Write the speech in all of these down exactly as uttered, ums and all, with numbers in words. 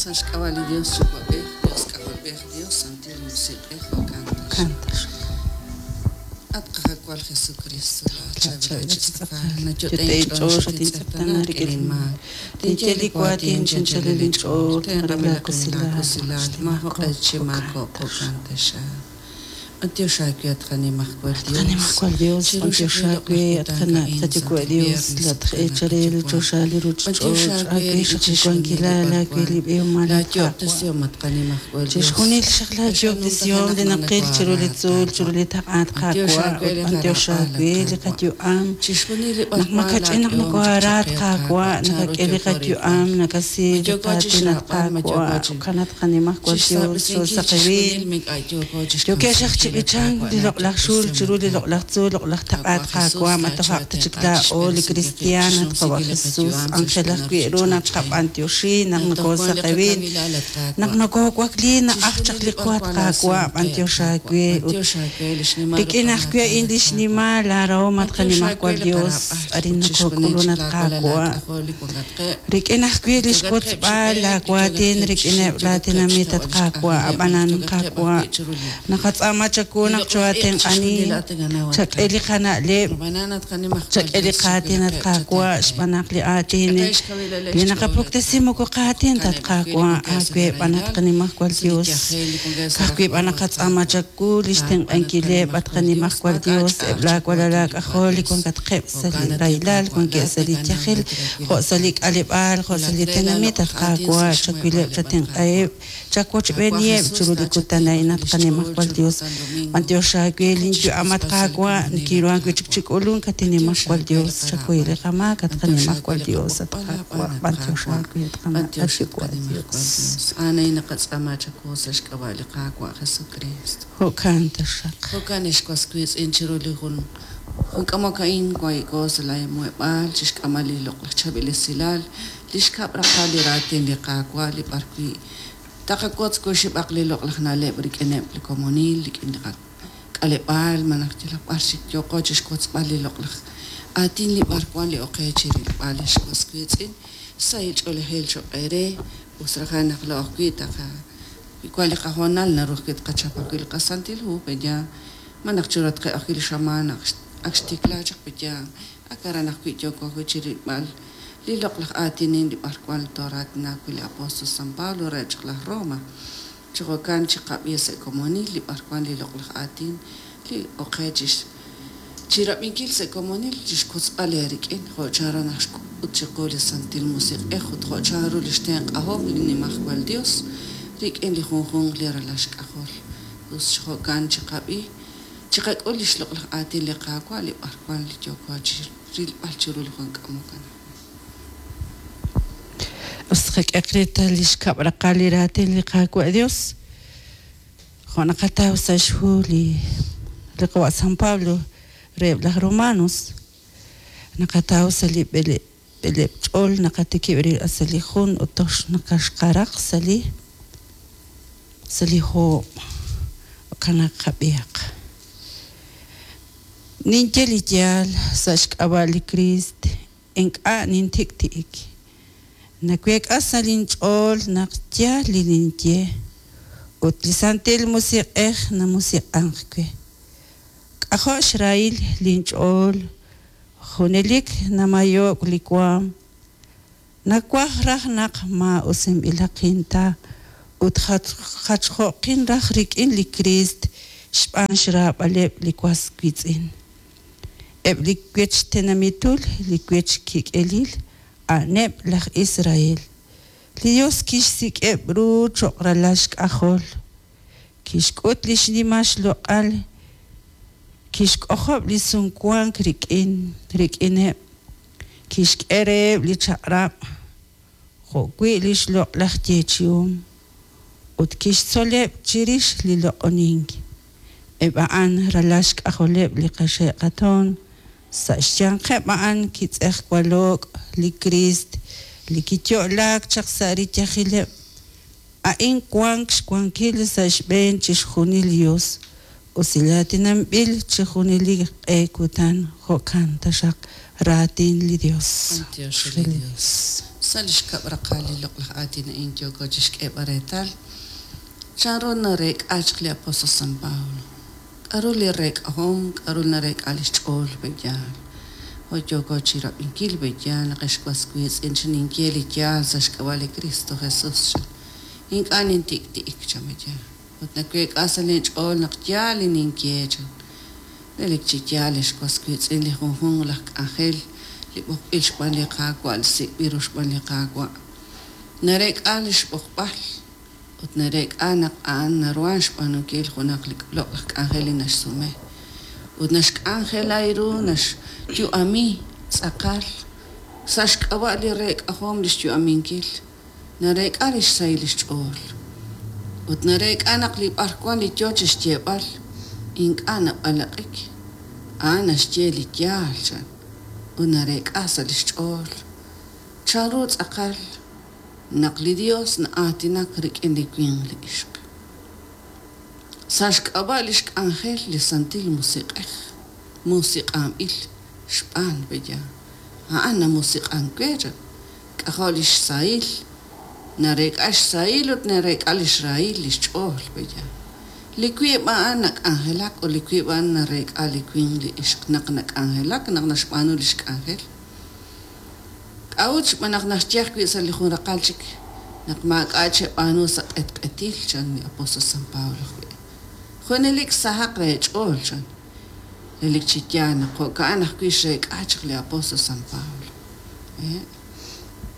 Sa' xk'ab'a' li Dios Yuwa'b'ej, Dios K'ajolb'ej, Dios Santil Musiq'ej, jo'kan taxaq. At Qaawa' Jesucristo, laachab'il chi tz'aqal, nayot'e inch'ool xatintz'eqtaana rik'in inmaak. Tinye li waatin chi anchalil inch'ool, tenq'anb'il laakusilal, maajoq'e chi maakok', jo'kan taxaq. B'antiox aawe at qanimajwal Dios. Qanimajwal Dios, b'antiox aawe at qana' qayuwa' Dios, latq'eecharel choxa li ruuchich'och', aawe xaq li wankilal, aawe li b'ihomal at Qaawa'. Chixjunil xaq laayoob'tesihom li naqil chiru li tzuul, chiru li taq'a at Qaawa', ut b'antiox aawe li qayu'am. Naq makach'in naq nokohaara at Qaawa', nakak'e li qayu'am, nakasi li qaatin at Qaawa', jo'kan at qanimajwal Dios, xoosaqewil. Yookeb' xaq chi b'ichank li loq'laj xul chiru li loq'laj tzuul, loq'laj taq'a at Qaawa', ma tojaq ta chik laa'o li kristiaan at Qawa' Jesus, anjel ajwi' ru naq qab'antioxi, naq nokoosaqewil, naq nokoowakli, na'aj chaq li qu at Qaawa', b'antiox aawe ut rik'in ajwi' a'in li xnimal laarahom at qanimajwal Dios, arin nokook'ulun at Qaawa'. Rik'in ajwi' li xwotzb'al laawaatin rik'ineb' laatinamit at Qaawa', ab'anan Qaawa', naqatz'aama chawu naq choo'atenq'ani, chak'e li qana'leb', chak'e li qaatin at Qaawa', xb'aan naq li aatin li naqapuktesi moko qaatin ta at Qaawa', aawe b'an at qanimajwal Dios. Ka'ajwi' b'an naqatz'aama chawu li xtenq'ankileb' at qanimajwal Dios, eb' laawalal aak'ajol li wankatqeb' sa' li rahilal, wankeb' sa' li yajel, jo' sa' li k'aleb'aal, jo' sa' li tenamit at Qaawa', chawileb' chatenq'aheb', chawochb'eeniheb' chiru li kutan a'in at qanimajwal Dios. B'antiox aawe linyu'am at Qaawa', nikinruhan wi' chik chi k'ulunk at inimajwal Dios, chakuy li qamaak at qanimajwal Dios at Qaawa', b'antiox aawe at qana' at Yuwa' Dios. Anay naqatz'aama chawu sa' xk'ab'a' li Qaawa' Jesucristo. Jo'kan taxaq. Jo'kan ex was wiitz'in chiru li jun jun k'amok a'in wahi'ko sa' laamuheb'aal chixk'amal li loq'laj chaab'il esilal, li xkab' raqal li raatin li Qaawa' li b'ar wi' taqawotz kuxib'aq li loq'laj na'leb' rik'ineb' li komonil, rik'in li k'aleb'aal, malaj yalaq b'ar xik yooqo chixwotzb'al li loq'laj aatin li b'ar wan li oqe chirilb'al ex was wiitz'in, sahil ch'oolejil choq' eere, us rajan naq laa'o ajwi' taqa wan li qahoonal naru ajwi' tqachap ajwi' li qasantil hu, peya malaj chiru ajwi' li xamaan ak xtikla chaq peya ak aran ajwi' yooko ajwi' chirilb'al li loq'laj aatinin li b'ar wan tooraatina ajwi' li apóstol San Pablo re chaq laj Roma. Chi jo'kan chiqab'i sa' komonil li b'ar wan li loq'laj aatin li oqe chix chirab'inkil sa' komonil chixwotzb'al eerik'in jo' chanru naq xk'ut chiqu li Santil Musiq'ej ut jo' chanru li xtenq'ahom li nimajwal Dios rik'in li junjunq li ralal xk'ajol. Us chi jo'kan chiqab'i chiqak'ul li xloq'laj aatin li Qaawa' li b'ar wan li yooko chi rilb'al chiru li jun k'amok anaqwan. Us qak'e reetal li xkab' raqal li raatin li Qaawa' Dios. Jo' naqataw sa' xhu li li Qawa' San Pablo reheb' laj Romanos. Naqataw sa' li b'ele b'eleb' ch'ool naqatikib' rilb'al sa' li jun ut toj naqaxqaraq sa' li sa' li hoob'. Jo'kan naq qab'ihaq. Ninye li yaal sa' xk'ab'a' li Kriist, ink'a' nintik'ti'ik. Naweek'a sa' linch'ool naq yaal li ninye ut li Santil Musiq'ej namusiq'ank we. K'ajo' xrahil linch'ool, junelik namayo'k li waam. Nawaj raj naq maa'usinb'ilaqin ta ut jachjo'qin raj rik'in li Kriist xb'aan xraab'aleb' li was wiitz'in. Eb' li wech tenamitul, li wech kik'elil, a'aneb' laj Israel. Li Dios kixsik'eb' ru cho'q ralal xk'ajol, kixk'ut li xnimal xloq'al, kixk'ojob' li sumwank rik'in rik'ineb', kixk'e reheb' li chaq'rab' jo'wi' li xloq'laj yeechi'om ut kixtzoleb' chirix li loq'onink. Eb' a'an ralal xk'ajoleb' li qaxe'qatoon, sa' xyanqeb' a'an kitz'ejwalo'k li Kriist li kiyo'laak chaq sa' riyajileb'. A'in wank xwankil sa' xb'een chixjunil li Dios, usilaatinanb'il chi junelik q'e kutan. Jo'kan taxaq raatin li Dios. B'antiox li Dios. Sa' li xkab' raqal li loq'laj aatin a'in yooko chixk'eeb'al reetal chanru nareek'a chaq li apóstol San Pablo. K'aru li reek'ahom, k'aru nareek'a lix ch'ool pe'yaal. Jo' yooko chirab'inkil pe'yaal naq ex was wiitz'in chi ninye li yaal sa' xk'ab'a' li Cristo Jesús chan. Ink'a' nintik'ti'ik chan pe'yaal. Ut naweek'a sa' linch'ool naq yaal li ninye chan. Relik chi yaal ex was wiitz'in li junjunq laj k'anjel li b'oqb'il xb'aan li Qaawa' li sik'b'il ru xb'aan li Qaawa'. Nareek'a lix b'oqb'al ut nareek'a naq a'an naruhan xb'aanunkil junaq li loq'laj k'anjel li naxsume. Ut naxk'anjela ru naxyu'ami tz'aqal sa' xk'ab'a' li reek'ahom lix yu'aminkil. Nareek'a lix sahil lix ch'ool. Ut nareek'a naq li b'arwan li yoo chixyeeb'al ink'a' nab'alaq'ik. A'an naxye li yaal chan. Ut nareek'a sa' lix ch'ool. Chanru tz'aqal naq li Dios na'aatinak rik'in li winq li ixq. Sa' xk'ab'a' lix k'anjel li Santil Musiq'ej, musiq'anb'il xb'aan pe'yaal. A'an namusiq'ank we chan. K'ajo' lix sahil, nareek'a xsahil ut nareek'a lix rahil lix ch'ool pe'yaal. Li wiib' a'an nak'anjelak ut li wiib' a'an nareek'a li winq li ixq naq nak'anjelak naq naxb'aanu lix k'anjel. K'a'ut xb'aan naq naxye ajwi' sa' li jun raqal chik naq maak'a' cheb'aanu sa' q'etq'etil chan li apóstol San Pablo ajwi'. Junelik sahaq re ch'ool chan. Relik chi yaal naq jo'ka'an ajwi' xreek'a chaq li apóstol San Pablo.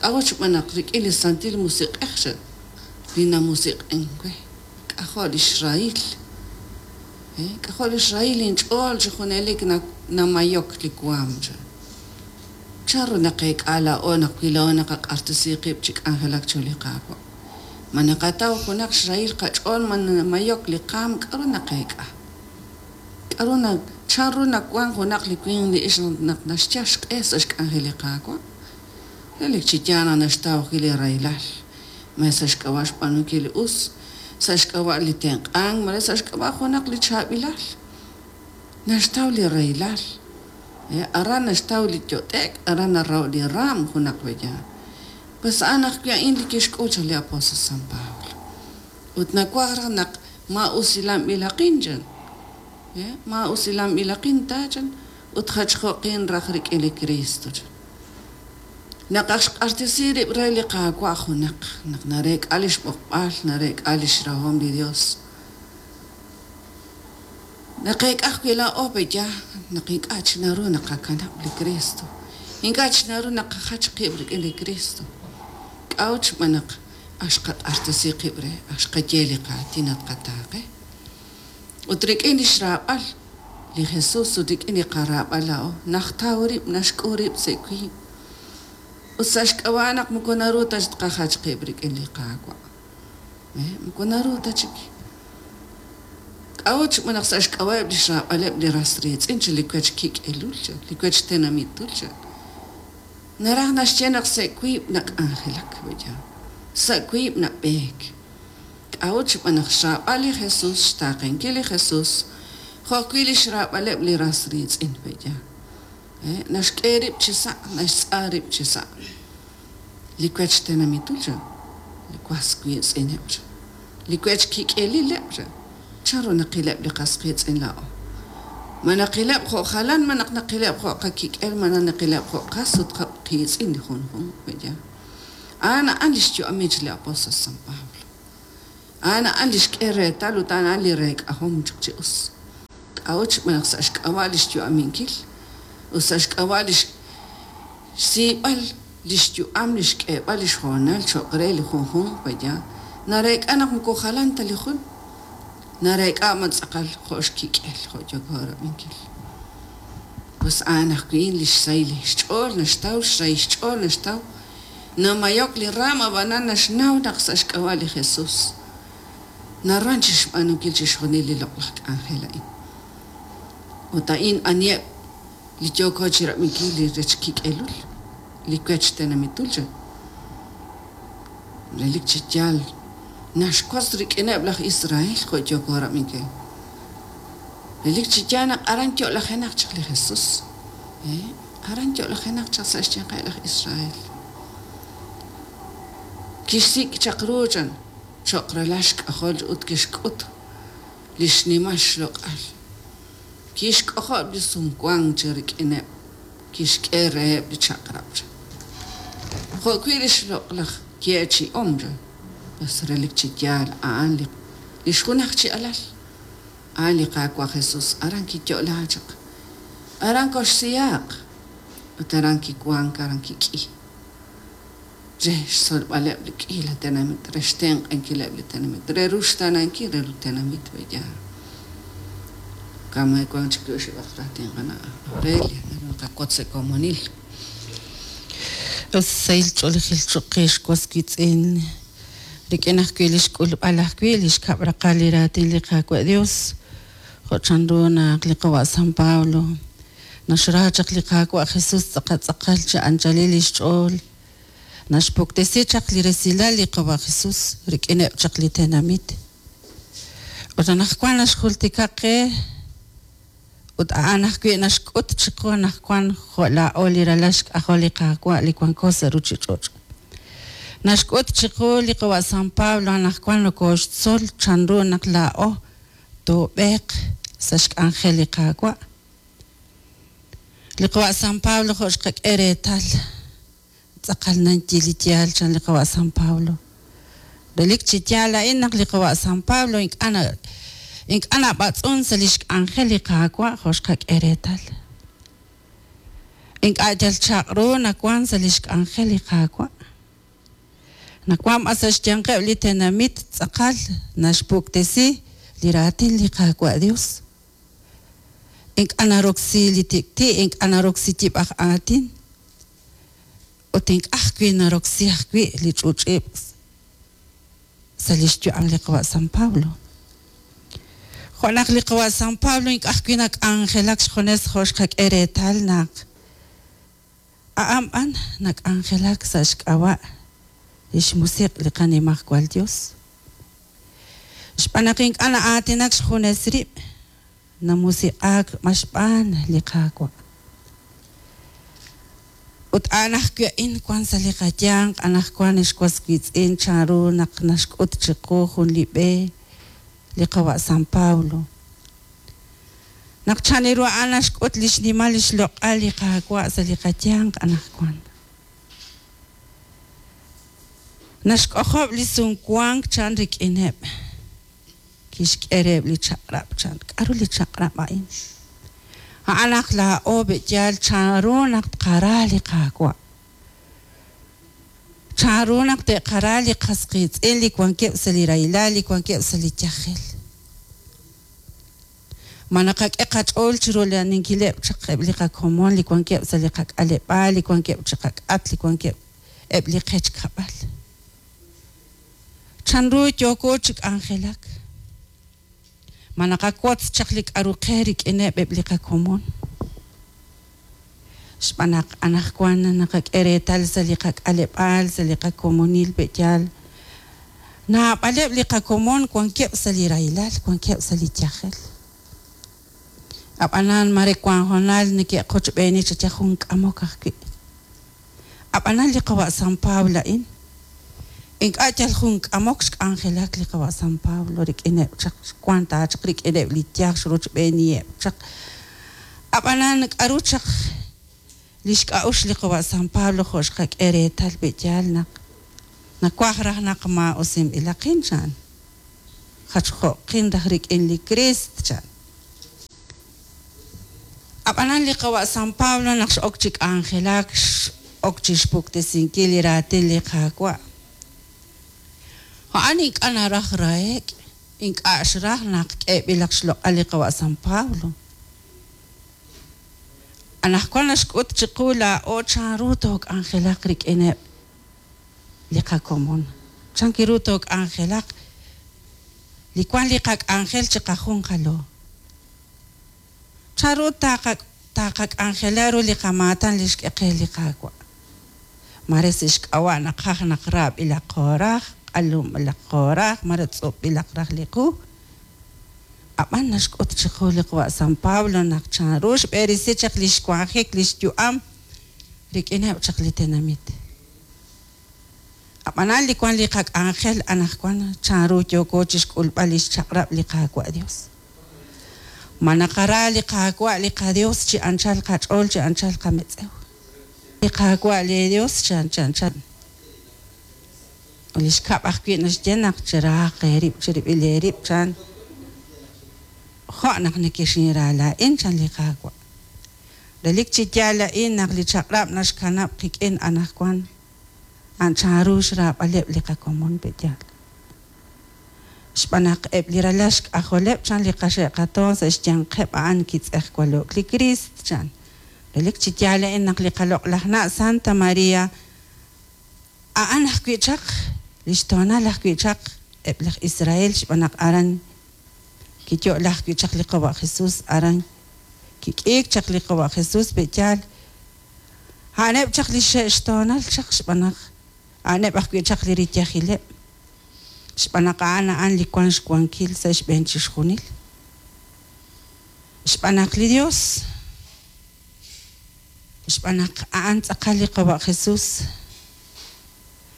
K'a'ut xb'aan naq rik'in li Santil Musiq'ej chan li namusiq'en we. K'ajo' lix rahil. K'ajo' lix rahil inch'ool chi junelik namayok li waam chan. Chanru naqeek'a laa'o naq wi laa'o naqaq'artisi qib' chi k'anjelak chiru li Qaawa'. Ma naqataw junaq xrahil qach'ool ma namayok li qaam k'aru naqeek'a. K'aru na chanru nawan junaq li winq li ixq naq naxyal xq'e sa' xk'anjel li Qaawa'. Relik chi yaal naq naxtaw ajwi' li rahilal. Ma sa' xk'ab'a' xb'aanunkil li us, sa' xk'ab'a' li tenq'ank, malaj sa' xk'ab'a' junaq li chaab'ilal. Naxtaw li rahilal. Aran naxtaw li yot'ek, aran naraho' li raam junaq pe'yaal. Pues a'an ajwi' a'in li kixk'ul chaq li apóstol San Pablo. Ut nawaj raj naq ma'usilanb'ilaqin chan. Ma'usilanb'ilaqin ta chan ut jachjo'qin raj rik'in li Cristo chan. Naq aj xq'artisi rib' re li Qaawa' junaq, naq nareek'a lix b'oqb'al, nareek'a lix rahom li Dios. Naqeek'a ajwi' laa'o pe'yaal naq ink'a' chi naru naqakanab' li Cristo. Ink'a' chi naru naqajach qib' rik'in li Cristo. K'a'ut xb'aan naq aj xqaq'artisi qib' re, aj xqaye li qaatin naq qataaqe. Ut rik'in lix raab'al li Jesús ut rik'in li qaraab'al laa'o, najtaw rib', naxk'u rib' sa' wiib'. Ut sa' xk'ab'a' naq moko naru ta tqajach qib' rik'in li Qaawa'. Moko naru ta chik. K'a'ut xb'aan naq sa' xk'ab'a'eb' lix raab'aleb' li ras riitz'in chi li wech kik'elul chan, li wech tenamitul chan. Naraj naxye naq sa' wiib' nak'anjelak pe'yaal. Sa' wiib' nab'eek. K'a'ut xb'aan naq xraab'al li Jesús, xtaaqenkil li Jesús, jo' ajwi' lix raab'aleb' li ras riitz'in pe'yaal. Naxk'e rib' chi sa', naxtz'a rib' chi sa'. Li wech tenamitul chan, li was wiitz'ineb' chan, li wech kik'elileb' chan. Chanru naqileb' li qas qiitz'in laa'o. Ma naqileb' jo' jalan, ma naq naqileb' jo' qakik'el, ma naqileb' jo' qas ut qiitz'in li junjunq pe'yaal. A'an a'an lix yu'amich li apóstol San Pablo. A'an a'an lix k'e reetal ut a'an a'an li reek'ahom chaq chi us. K'a'ut xb'aan naq sa' xk'ab'a' lix yu'aminkil ut sa' xk'ab'a' lix xsiib'al lix yu'am lix k'eeb'al lix hoonal cho'q re li junjunq pe'yaal. Nareek'a naq moko jalan ta li jun. Nareek'a man tz'aqal jo' xkik'el jo' yooko rab'inkil. Pues a'an ajwi' lix sahil xch'ool naxtaw, xrahil xch'ool naxtaw. Namayok li raam ab'anan naxnaw naq sa' xk'ab'a' li Jesús. Naruhan chixb'aanunkil chixjunil li loq'laj k'anjel a'in. Ut a'in aniheb' li yooko chirab'inkil li rech kik'elul, li wech tenamitul chan. Relik chi yaal naxwotz rik'ineb' laj Israel jo' yooko rab'inkil. Relik chi yaal naq aran yo'lajenaq chaq li Jesús. Aran yo'lajenaq chaq sa' xyanqeb' laj Israel. Kixsik' chaq ru chan cho'q ralal xk'ajol ut kixk'ut li xnimal xloq'al. Kixk'ojob' li sumwank chi rik'ineb', kixk'e reheb' li chaq'rab' chan. Jo'wi' li xloq'laj yeechi'om chan, pues relik chi yaal a'an li li xjunaj chi alal, a'an li Qaawa' Jesus, aran kiyo'la chaq, aran koxsihaaq ut aran kiwank, aran kik'i re xtzolb'aleb' li k'iila tenamit, re xtenq'ankileb' li tenamit, re ruxtaanankil re li tenamit pe'yaal. Kamay wank chik oxib'aq raatin qana' Aurelia, naru naqawotz sa' komonil. Sahil ch'oolejil cho'q qe xwas wiitz'in rik'in ajwi' li xk'ulb'al ajwi' li xkab' raqal li raatin li Qaawa' Dios jo' chanru naq li qawa' San Pablo naxra chaq li Qaawa' Jesus tz'aqal tz'aqal chi anchalil li xch'ool naxpuktesi chaq li resilal li qawa' Jesus rik'ineb' chaq li tenamit ut anaqwan naxjultika qe ut a'an ajwi' naxk'ut chiqu anaqwan jo' laa'o li ralal xk'ajol li Qaawa' li wanko sa' ruuchich'och'. Naxk'ut chiqu li qawa' San Pablo anaqwan nokooxtzol chanru naq laa'o toob'eeq sa' xk'anjel li Qaawa'. Li qawa' San Pablo jo' xqak'e reetal tz'aqal nanyi li yaal chan li qawa' San Pablo. Relik chi yaal a'in naq li qawa' San Pablo ink'a' na ink'a' nab'atz'un sa' li xk'anjel li Qaawa' jo' xqak'e reetal. Ink'a' yal chaq' ru nawan sa' li xk'anjel li Qaawa'. Nawan b'an sa' xyanqeb' li tenamit tz'aqal naxpuktesi li raatin li Qaawa' Dios. Ink'a' naroksi li tik'ti', ink'a' naroksi yib'aj aatin ut ink'a' ajwi' naroksi ajwi' li ch'uch'ib' sa' li xyu'am li qawa' San Pablo. Jo' naq li qawa' San Pablo ink'a' ajwi' nak'anjelak xjunes jo' xqak'e reetal naq a'an b'an nak'anjelak sa' xk'ab'a' li xmusiq' li qanimajwal Dios. Xb'aan naq ink'a' na'aatinak xjunes rib', namusiq'aak maxb'aan li Qaawa'. Ut a'an ajwi' a'in wan sa' li qayanq anaqwan xwas wiitz'in chanru naq naxk'ut chiqu jun li b'e li qawa' San Pablo. Naq chanru a'an naxk'ut li xnimal li xloq'al li Qaawa' sa' li qayanq anaqwan. Naxk'ojob' li sumwank chan rik'ineb'. Kixk'e reheb' li chaq'rab' chan. K'aru li chaq'rab' a'in? A'an naq laa'o be'yaal chanru naq tqara li Qaawa'. Chanru naq te'qara li qas qiitz'in li wankeb' sa' li rahilal, li wankeb' sa' li yajel. Ma naqak'e qach'ool chiru rula'aninkileb' chaq eb' li qakomon li wankeb' sa' li qak'aleb'aal, li wankeb' chi qak'at, li wankeb' eb' li qech kab'al. Chanru yooko chi k'anjelak. Ma naqawotz chaq li k'aru qe rik'ineb' eb' li qakomon. Xb'aan naq anaqwan naqak'e reetal sa' li qak'aleb'aal, sa' li qakomonil pe'yaal. Naab'aleb' li qakomon wankeb' sa' li rahilal, wankeb' sa' li yajel. Ab'anan mare wan hoonal neke'qochb'eeni chaq jun k'amok ajwi'. Ab'anan li qawa' San Pablo a'in ink'a' yal jun k'amok xk'anjelak li qawa' San Pablo rik'ineb' chaq wan ta chaq rik'ineb' li yaj xrochb'eeniheb' chaq. Ab'anan k'aru chaq li xk'a'uxl li qawa' San Pablo jo' xqak'e reetal pe'yaal naq nawaj raj naq maa'usinb'ilaqin chan. Jachjo'qin raj rik'in li Criist chan. Ab'anan li qawa' San Pablo naq x'ok chi k'anjelak x'ok chi xpuktesinkil li raatin li Qaawa'. A'an ink'a' naraj rahek', ink'a' xraj naq k'eeb'ilaq xloq'al li qawa' San Pablo. Anaqwan naxk'ut chiqu laa'o chanru took'anjelaq rik'ineb' li qakomon. Chan ru took'anjelaq li wan li qak'anjel chiqajunqalo. Chanru taaqa taaqak'anjela ru li qamaatan li xk'e qe li Qaawa'. Mare sa' xk'ab'a' naqaj naq raab'ilaq qooraj, q'alunb'ilaq qooraj, mare tz'ub'ilaq raj li qu. Ab'an naxk'ut chiqu li qawa' San Pablo naq chanru xb'erisi chaq li xwanjik li xyu'am rik'ineb' chaq li tenamit. Ab'anan li wank li qak'anjel anaqwan chanru yooko chi xk'ulb'al li xchaq'rab' li Qaawa' Yos. Ma naqara li Qaawa' li qaYos chi anchal qach'ool chi anchal qametz'ew. Li Qaawa' leeYos chi anchal. Li xkab' ajwi' naxye naq cherahaq eerib' cherib'il eerib' chan jo' naq nekexinra laa'in chan li Qaawa'. Relik chi yaal a'in naq li chaq'rab' naxkanab' qik'in anaqwan a'an chanru xraab'aleb' li qakomon pe'yaal. Xb'aan naq eb' li ralal xk'ajoleb' chan li qaxe' qatoon sa' xyanqeb' a'an kitz'ejwalo'k li Kriist chan. Relik chi yaal a'in naq li qaloq'laj na' Santa María a'an ajwi' chaq li xtoonal ajwi' chaq eb' laj Israel xb'aan naq aran kiyo'la ajwi' chaq li qawa' Jesús aran kik'iik chaq li qawa' Jesús pe'yaal. A'aneb' chaq li xe'xtoonal chaq xb'aan naq a'aneb' ajwi' chaq li riyajileb'. Xb'aan naq a'an a'an li wank xwankil sa' xb'een chixjunil. Xb'aan naq li Dios xb'aan naq a'an tz'aqal li qawa' Jesús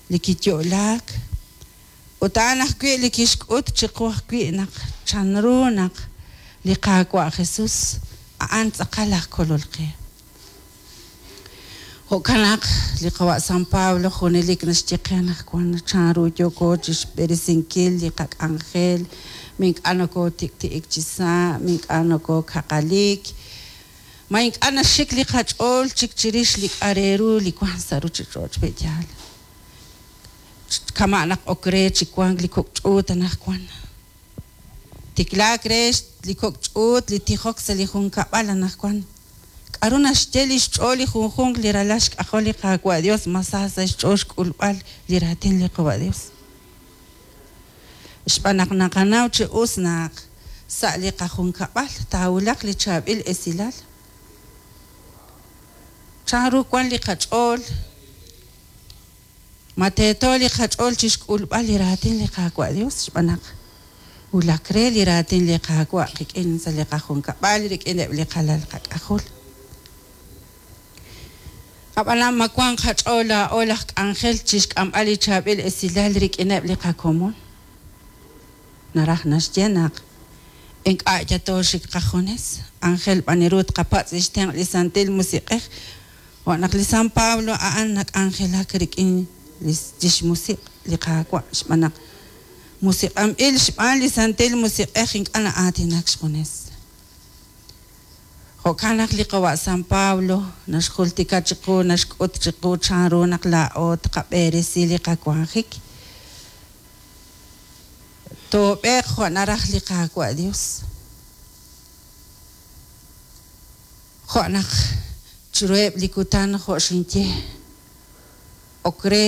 li kiyo'laak ut a'an ajwi' li kixk'ut chiqu ajwi' naq chanru naq li Qaawa' Jesús a'an tz'aqal aj kolol qe. Jo'kan naq li qawa' San Pablo junelik naxye qe anaqwan chanru yooko chi xb'eresinkil li qak'anjel, ma ink'a' nokootik'ti'ik chi sa', ma ink'a' nokookaqalik, ma ink'a' naxik li qach'ool chik chirix li k'a' re ru li wank sa' ruuchich'och' pe'yaal. Kama' naq ok re chi wank li kok' ch'uut anaqwan. Tiklaak re li kok' ch'uut li tijok sa' li junkab'al anaqwan. K'aru naxye li xch'ool li junjunq li ralal xk'ajol li Qaawa' Dios ma sa sa' xch'ool xk'ulb'al li raatin li Qawa' Dios. Xb'aan naq naqanaw chi us naq sa' li qajunkab'al taawulaq li chaab'il esilal. Chanru wank li qach'ool ma teeto li qach'ool chi xk'ulb'al li raatin li Qaawa' Dios xb'aan naq wulak re li raatin li Qaawa' qik'in sa' li qajunkab'al rik'ineb' li qalal qak'ajol. Ab'anan ma wank qach'ool laa'o laj k'anjel chi xk'amb'al li chaab'il esilal rik'ineb' li qakomon. Naraj naxye naq ink'a' yatooxik qajunes anjel b'an ru tqapatz' li xtenq' li Santil Musiq'ej jo' naq li San Pablo a'an nak'anjelak rik'in li xmusiq' li Qaawa' xb'aan naq musiq'anb'il xb'aan li Santil Musiq'ej ink'a' na'aatinak xjunes. Jo'kan naq li qawa' San Pablo naxjultika chiqu naxk'ut chiqu chanru naq laa'o tqab'eresi li qawanjik. Toob'eeq jo' naraj li Qaawa' Dios. Jo' naq chiruheb' li kutan jo' xinye ok re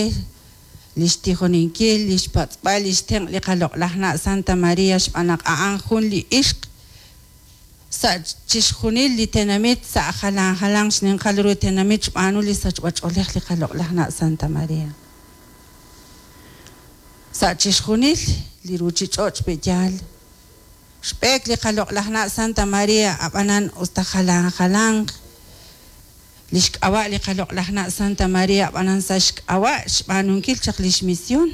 li xtijoninkil li xpatz'b'al li xtenq' li qaloq'laj na' Santa María xb'aan naq a'an jun li ixq sa' chixjunil li tenamit sa' jalan jalan xninqal ru tenamit xb'aanu li sachb'ach'oolej li qaloq'laj na' Santa María. Sa' chixjunil li ruuchich'och' pe'yaal xb'eek li qaloq'laj na' Santa María ab'anan usta jalan jalanq li xk'ab'a' li qaloq'laj na' Santa María ab'anan sa' xk'ab'a' xb'aanunkil chaq li xmisión.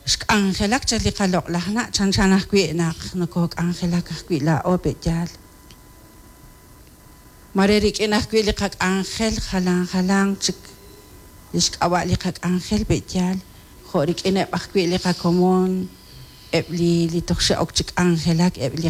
Xk'anjelak chaq li qaloq'laj na' chanchan ajwi' naq nokook'anjelak ajwi' laa'o pe'yaal. Mare rik'in ajwi' li qak'anjel jalan jalanq chik li xk'ab'a' li qak'anjel pe'yaal jo' rik'ineb' ajwi' li qakomon eb' li li toj xe'ok chi k'anjelak eb' li